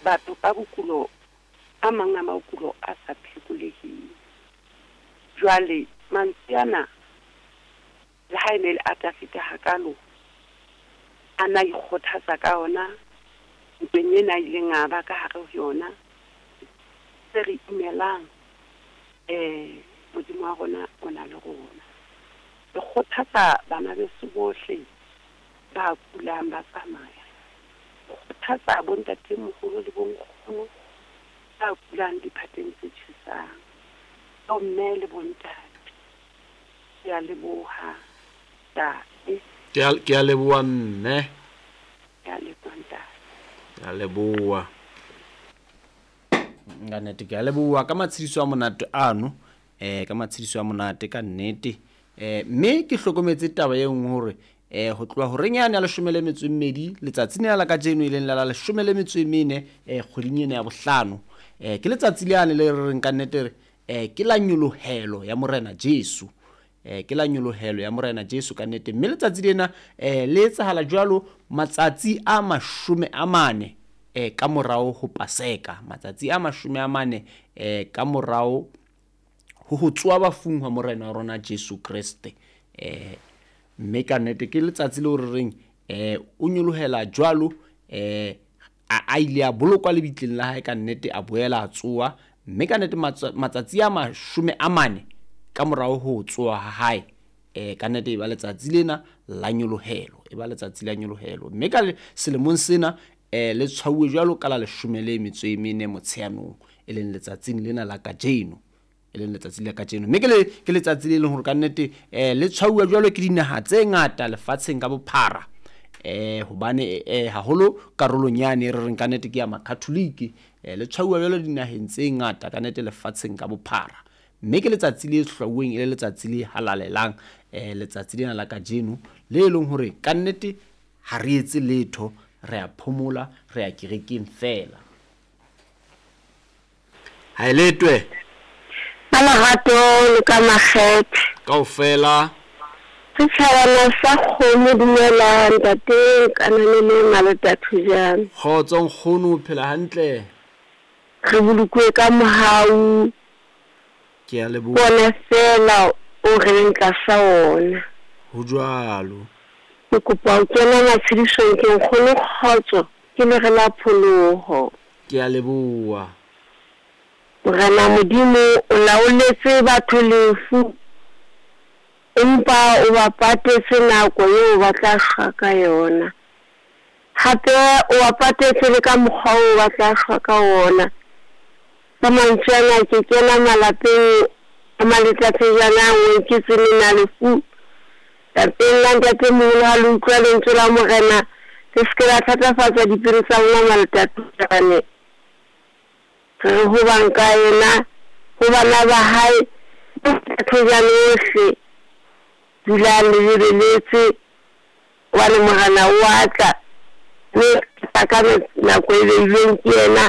Batho ka bokulo, a mang a makulo a sa phekoleheng. Jwale mantswe ana, le ha e ne le a Dafida hakalo, a na ikgothatsa ka ona ntweng ena a ileng a ba ka hare ho yona. Se re imelang, Modimo wa rona o na le rona. Re kgothatsa bana beso bohle ba kulang ba tsamaya. Re kgothatsa bontatemoholo le bonkgono ba kulang diphateng tse tjhesang. Bomme le bontate. Ke a leboha, ntate. Ke a leboha, mme. Ke a leboha, ntate. Ke a leboha. Ka nnete ke a leboha ka matshediso a monate ano, ka matshediso a monate ka nnete. Mme ke hlokometse taba e nngwe hore ho tloha horeng yane ya 12 letsatsing lena la kajeno, e leng la la 14 kgweding ena ya bohlano, ke letsatsi lane le re reng ka nnete re ke la nyolohelo ya Morena Jesu. Ke la nyolohelo ya Morena Jesu ka nnete. Mme letsatsi lena le etsahala jwalo matsatsi a 40 ka morao ho Paseka, matsatsi a 40 ka morao ho tsoha bafung ha Morena wa rona Jesu Kreste. Mme ka nnete ke letsatsi leo re reng o nyolohela jwalo, a ile a bolokwa lebitleng la hae ka nnete, a boela a tsoha. Mme ka nnete matsatsi a 40 ka morao ho tsoha ha hae, ka nnete e ba letsatsi lena la nyolohelo, e ba letsatsi la nyolohelo. Mme ka selemong sena le tshwauwe jwalo ka la 14 Motsheanong, e leng letsatsing lena la kajeno, e leng letsatsi la kajeno. Mme ke letsatsi le leng hore ka nnete le tshwauwa jwalo ke dinaha tse ngata lefatsheng ka bophara, hobane haholo karolong yane re reng ka nnete ke ya Makatholike, le tshwauwa jwalo dinaheng tse ngata ka nnete lefatsheng ka bophara. Mme ke letsatsi le hlwauweng e le letsatsi le halalelang, letsatsi lena la kajeno le leng hore ka nnete ha re etse letho, re a phomola, re ya kerekeng fela. Ha e letwe. Ka lerato le ka makgethe. Kaofela. Setjhabana sa kgomo, dumela ntate Kananelo Malota Thojane. Kgotso nkgono, o phela hantle? Re bolokuwe ka mohau. Ke a leboha. Ke ona feela o re leng tlasa ona. Ho jwalo. Ke kopa ho kena matshedisong ke nkgono kgotso, ke lere la pholoho. Ke a leboha. Morena Modimo o laoletse batho lefu, empa o ba patetse nako eo ba tla shwa ka yona. Hape o ba patetse le ka mokgwa oo ba tla shwa ka ona. Ka mantswe ana ke kena malapeng a Maletathejana a nngwe ke tsenena lefu. Lapeng la ntatemoholo ha le utlwa lentswe la Morena, le se ke la thatafatsa dipelo tsa lona Maletathejane. Re re ho bang ka yena, ho bana ba hae, le Maletathejane ohle, dulang le lebeletse, hobane Morena o a tla, mme o tla ka nako e beilweng ke yena,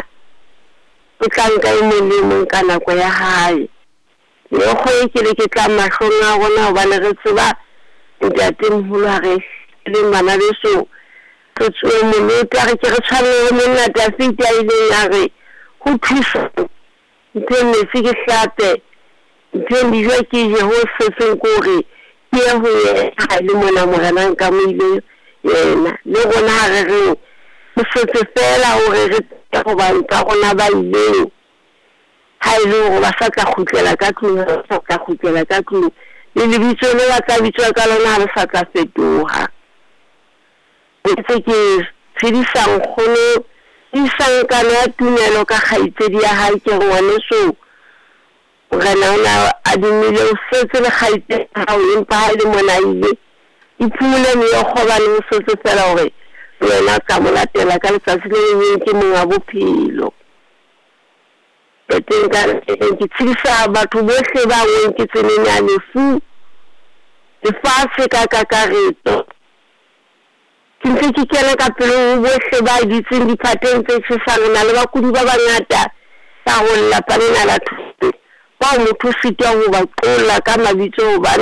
o tla nka e mong le e mong ka nako ya hae. Meokgo e ke le ke tlang mahlong a rona, hobane re tseba ntatemoholo ha re leng bana beso, re tsoe molota, re ke re tshwane le monna Dafida a ileng a re ho thusa mpheng metsi ke hlape, mpheng dijo ke je, ho setseng ke hore ke ye ho yena ha e le mona Morena nkamohile yena. Le rona ha re reng ho setse feela hore re tsebe ho bang tsa rona ba ileng, ha e le hore ba sa tla kgutlela ka tlung, ha ba sa tla kgutlela ka tlung, le lebitso le ba tla bitswa ka lona ha le sa tla fetoha. Ntse ke tshedisa nkgono, tiisang kano ya tumelo ka kgaitsedi ya hae, ke re ngwaneso, Morena o ne a dumile o setse le kgaitsedi ya hao, empa ha e le mona a ile, iphumule meokgo hobane ho setse feela hore le wena o tla mo latela ka letsatsi le leng ke monga bophelo. Teng ka ke tshedisa batho bohle ba ngweng ke tseneng ya lefu, lefatshe ka kakaretso. Ke ntse ke kena ka pele ho bohle ba dutseng diphateng tse tjhesang. Re na le bakudi ba bangata ka ho lelapa lena la Thotse, bao motho o sitwa ho ba qolla ka mabitso hobane